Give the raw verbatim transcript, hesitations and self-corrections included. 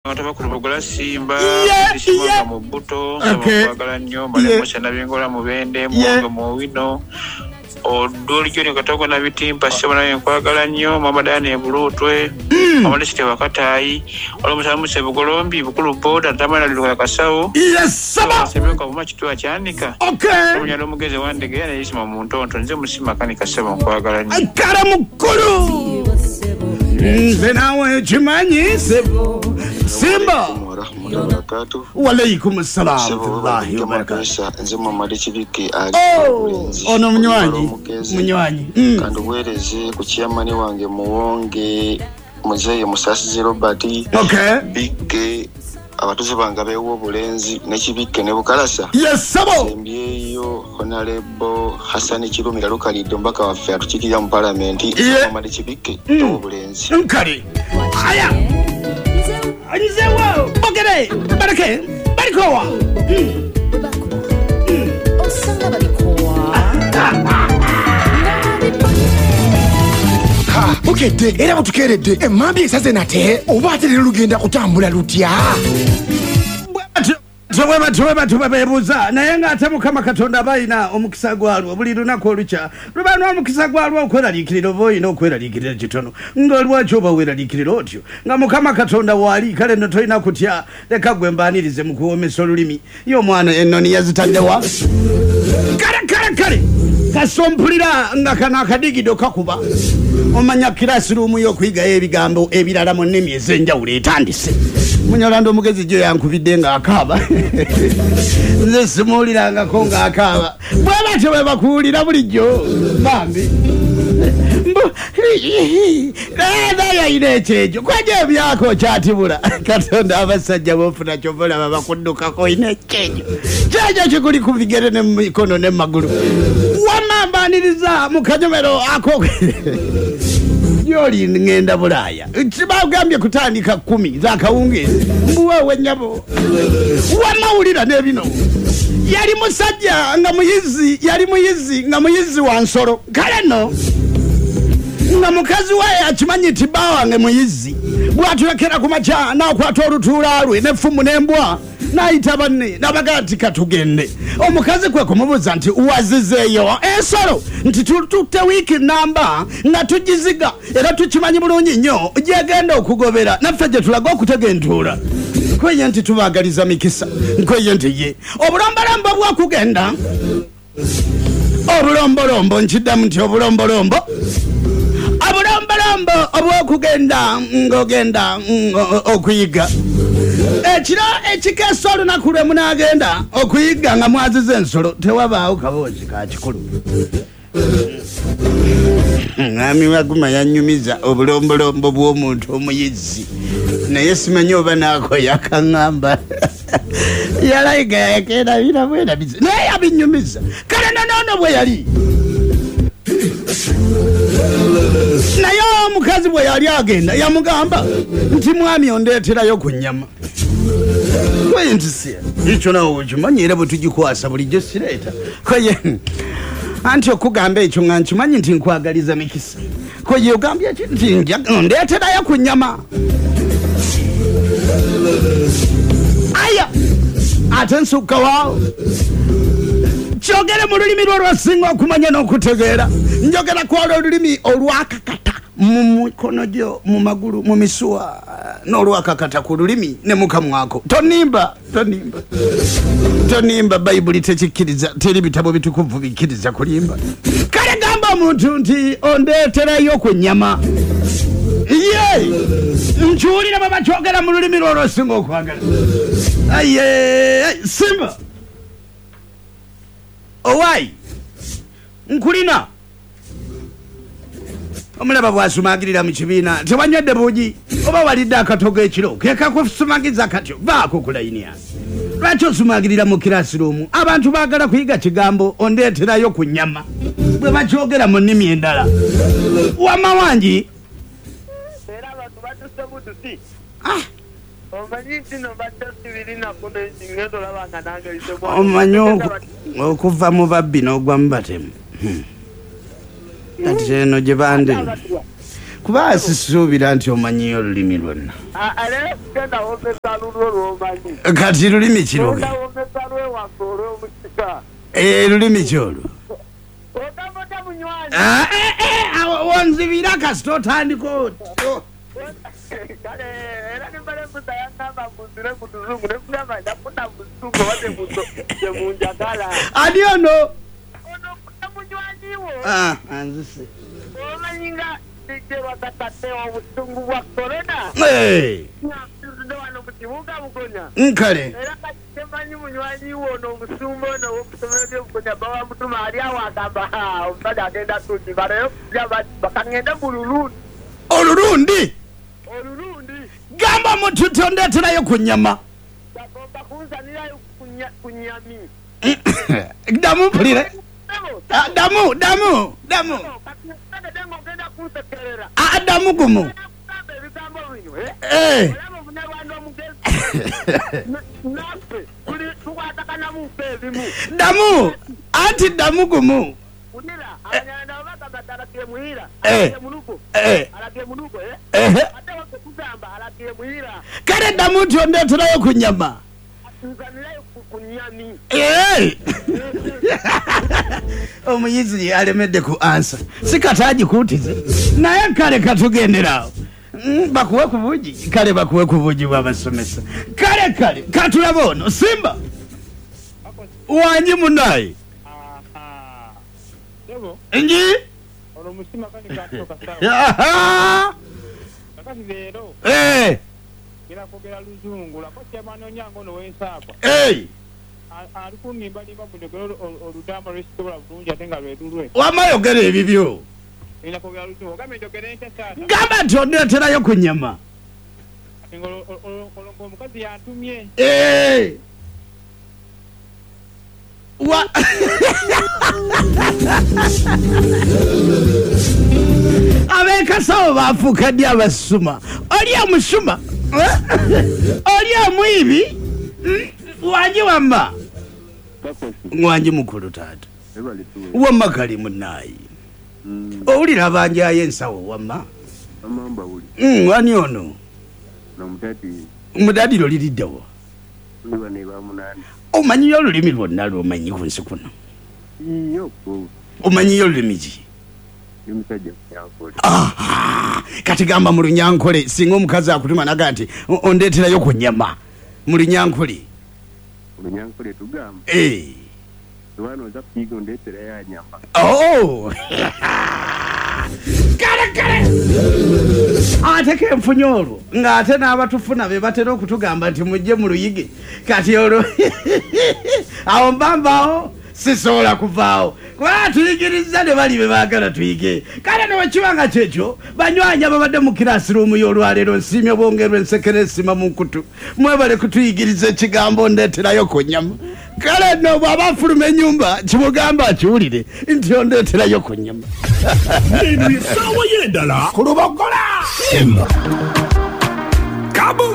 Abakulubugula Simba Yeah, Simba yeah. mu buto Okay. kwagala nnyo Male Nabingola Mubende Yeah. Mwonge Muwino Odoli Joni Katogo na Bitimpa Sebo naye nkwagala nnyo Mama Dani Bulutwe Mama Lesite Wakatayi Olwo Sebugolombi Bukulu Boda Tamala Luka Kasawo Yes, saba. Sebeka Buma Kituwa Kyanika Okay. Omunyala omugezi wandege neyisima mu ntonto nze musima kanika sebo nkwagala nnyo. Kale mukulu. Nze nawe kimanyi sebo. Simba. Warahmatullahi wabarakatuh. Walaikum assalam Sebo warahmatullahi wabarakatuh. wabarakatuh. Nze Muhammad Kibiki ali Oh, Bulenzi. ono munywanyi. Omugezi. Munywanyi. Mm. Kandi obuweereze ku chairman wange Muwonge Muzeeyi Musasizi Robert Okay. Bikke abatuuze bange abeewa obulenzi ne Kibikke ne Bukalasa. Yes, sabo. Sembyeyo Honorable Hassan Kirumira Lukalidde omubaka waffe atukiikirira mu palamenti. Yeah. Muhammad Kibikke Mm. ow'obulenzi. Nkali. Aya. Nzewo. Bogere. Barake. Barikowa. Mm. Osanga balikowa. Ha, bukedde era butukeeredde emmambi esaze nate oba ate leero lugenda kutambula lutya? Bwe batyo bwe batyo beebuuza naye ng'ate Mukama Katonda aba alina omukisa gwalwo buli lunaku olukya luba n'omukisa gwalwo okweraliikirira oba olina okweraliikirira kitono nga lwaki oba weeraliikirira otyo nga Mukama Katonda waali kale nno tolina kutya leka gwe mbaanirize mu kuwoomesa olulimi ye omwana ennoni yazitaddewa kale kale kale kasompulira nga kano akadigido kakuba omanya kirasiruumu y'okuyigayo ebigambo ebirala mu nnimi ez'enjawulo etandise. Munyarwanda omugezi gyo yankubidde ng'akaaba nze simuwulirangako ng'akaaba bwe batyo bwe bakuwulira bulijjo bambi mbu naye ayina ekyejo kwaja ebyako kyatibula Katonda abasajja b'ofuna kyova olaba bakuddukako oyina ekyejo kyejo kikuli ku bigere ne mu mikono ne mu magulu wamma mbaaniriza mu kanyomero ako gy'oli ŋŋenda Bulaaya kibagambye kutandika kkumi z'akawungeezi mbuweewe nnyabo wamma wulira n'ebino yali musajja nga muyizi yali muyizi nga muyizi wa nsolo kale nno nga mukazi we akimanyi nti bba wange muyizi bw'atulekera ku makya n'akwata olutuula lwe n'effumu n'embwa n'ayita banne n'abagaa nti katugende omukazi kwe kumubuuza nti wazizeeyo ensolo nti tututte wiiki namba nga tugiziga era tukimanyi bulungi nnyo gyegenda okugobera naffe gye tulaga okutega entuula nkweye nti tubaagaliza mikisa nkweye nti ye obulombolombo bw'okugenda obulombolombo nkiddamu nti obulombolombo obulombolombo obw'okugenda ng'ogenda okuyiga ekiro ekikeesa olunaku lwe munaagenda okuyiga nga mwaziza ensolo tewabaawo kaboozi ka kikulu. Mwami Waguma yannyumiza obulombolombo bw'omuntu omuyizi naye simanyi oba naako yakaŋŋamba yalayiga yakeerabira bwerabizi naye yabinnyumiza kale nonoono bwe yali naye omukazi bwe yali agenda yamugamba nti mwami ondeeterayo ku nnyama kweye nti si ekyo nawe okimanyi era bwe tugikwasa bulijjo sireeta kweye anti okugamba ekyo nga nkimanyi nti nkwagaliza mikisa kweye ogambye ki nti ndeeterayo ku nnyama aya ate nsukka waawo kyogere mu lulimi lwo lwasinga okumanya n'okutegeera njogera kwolwo olulimi olwakakata mu mikono gyo mu magulu mu misuwa n'olwakakata ku lulimi ne mu kamwako tonimba tonimba tonimba bayibuli tekikkiriza teri bitabo bitukuvu bikkiriza kulimba kale gamba omuntu nti ondeeterayo ku nnyama ye nkiwulira bwe bakyogera mu lulimi lwo lwasinga okwagala aye Simba owai nkulina omulaba bw'asumagirira mu kibiina tewanywedde buugi oba walidde akatogo ekiro ke kakusumagiza katyo vaako ku layini yange lwaki osumagirira mu kirasiruumu abantu baagala kuyiga kigambo ondeeterayo ku nnyama bwe bakyogera mu nnimi endala wamma wangi era abantu batuse butusi ah omanyi nti no badde sibirina kuno ngenda olaba nga nange omanyi okuva mu babbi n'ogwa mu batemu kati eno gye bande Kuba sisuubira nti omanyiyo olulimi lwonna. Leero tugenda womesa lulwo lw'omanyi. Kati lulimi ki lwo? Genda womesa lwewaffe olw'omusika. Lulimi ki olwo? Ogamba otya munywanyi? Wonzibira kasita otandika otyo. Kale era nimbale mbuza yangamba mbuzire mu luzungu ne nkugamba ndafuna mu luzungu oba temunjagala. Ani ono? Ono munywanyi wo. Anzise. Omanyi nga D J Lwakatadde obusungu bwa korona. Nfudde wano mu kibuga Bugonya. Nkale. Era kati temanyi munywanyi wo ono omusumba ono ow'okusomero ly'e Bugonya bawa mutuma ali awo agamba omusajja agenda tugiba leero bakangende mu lulundi. Olulundi? Olulundi. Gamba mutu tondeeterayo ku nnyama. Bagomba kunzanirayo ku nnyami. Ddamu mpulire. Ddamu, ddamu, ddamu. Ddamu gumu. Eh. Ddamu, anti ddamu gumu. Eh. Eh. Eh. Kale ddamu nti ondeeterayo ku nnyama. Eh. Omuyizi alemedde ku ansa. Si kati agikuutize. Naye kale katugenderawo. Bakuwe ku bugi. Kale bakuwe ku bugi bw'abasomesa. Kale kale katulaba ono Simba. Wangi munaye. Ngi? Ono musima kani katoka sawa. Kakati leero. Eh. Kira kwogera luzungu lako kyamanonya ngono w'ensaakwa. Eh. Ali kunimbalimba bunjogera olutamba lwesisobola bulungi ate nga lwe lulwe. Wamma yogera ebibyo. Nina kwogera luzungu. Ogambye njogere ntya taata? Gamba nti ondeeterayo ku nnyama. Ate ng'olwo omukazi yantumye. Eh. Wa ab'ekasawo baafuuka ddi abasuma? Oli omusuma? Oli omwibi? Wangi wamma? Wangi mukulu taata. Wamma kali munnaayi. Owulira abanjayo ensawo wamma? Wani ono? Omudadiro liriddewa? Omanyiyo olulimi lwonna lw'omanyi ku nsi kuno? Omanyiyo olulimi ki? Kati gamba mu Lunyankole singa omukazi akutuma naga nti ondeeterayo ku nnyama mu Lunyankole. Lunyankole tugamba. Eh. Wano oza kuyiga ondeeterayo nyama. Oh! Kale kale! Ate kenfunye olwo ng'ate n'abatufuna be batera okutugamba nti mujje mu luyige kati olwo awo mbambaawo sisobola kuvaawo kubanga tuyigiriza ne bali be baagala tuyige. Kale ne bwe nga kyekyo banywanyi ababadde mu kirasiruumu y'olwaleero nsiimye bwongerwa ensekere esima mu nkutu mwebale kutuyigiriza ekigambo ndeeterayo ku nnyama. Kale nno bw'aba afuluma ennyumba kimugamba akiwulire nti ondeeterayo ku nnyama. Eno y'essaawa y'endala ku Lubogola. Kaboom!